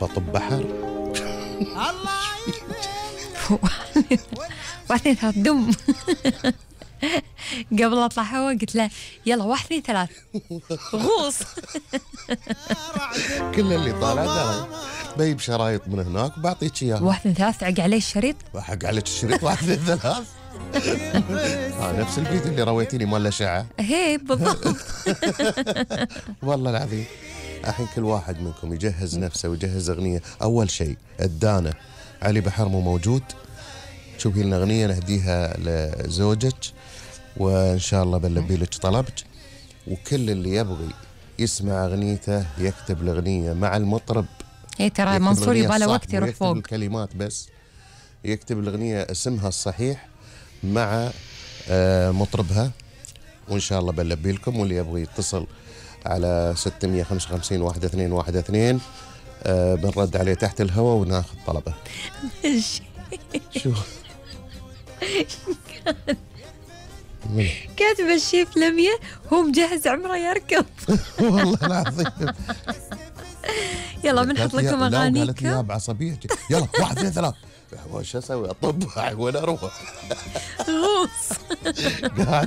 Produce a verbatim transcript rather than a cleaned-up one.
بطب بحر. واحد اثنين ثلاث دم. قبل اطلع هوا قلت له يلا واحد اثنين ثلاث غوص. كل اللي طالع درى بيب شرايط من هناك وبعطيك اياها. واحد اثنين ثلاث عق عليه الشريط. حق عليك الشريط واحد اثنين ثلاث. ها نفس الفيديو اللي رويتيني مال الاشعه. هي بالضبط. والله العظيم. الحين كل واحد منكم يجهز نفسه ويجهز اغنيه. اول شيء الدانه علي بحر مو موجود، شوفي لنا اغنيه نهديها لزوجك وان شاء الله بنلبي لك طلبك. وكل اللي يبغي يسمع اغنيته يكتب الاغنيه مع المطرب. اي ترى منصور يبغى له وقت يروح فوق. الكلمات بس يكتب الاغنيه اسمها الصحيح مع آه مطربها وان شاء الله بنلبي لكم. واللي يبغي يتصل على ستمية وخمسة وخمسين واحد اثنين واحد اثنين آه بنرد عليه تحت الهواء وناخذ طلبه. شو كاتب الشيف لمية هو مجهز عمره يركض. والله العظيم. يلا بنحط لكم اغانيكم. قالت لي بعصبيه يلا واحد اثنين ثلاث. وش اسوي؟ اطب وين اروح؟ غوص.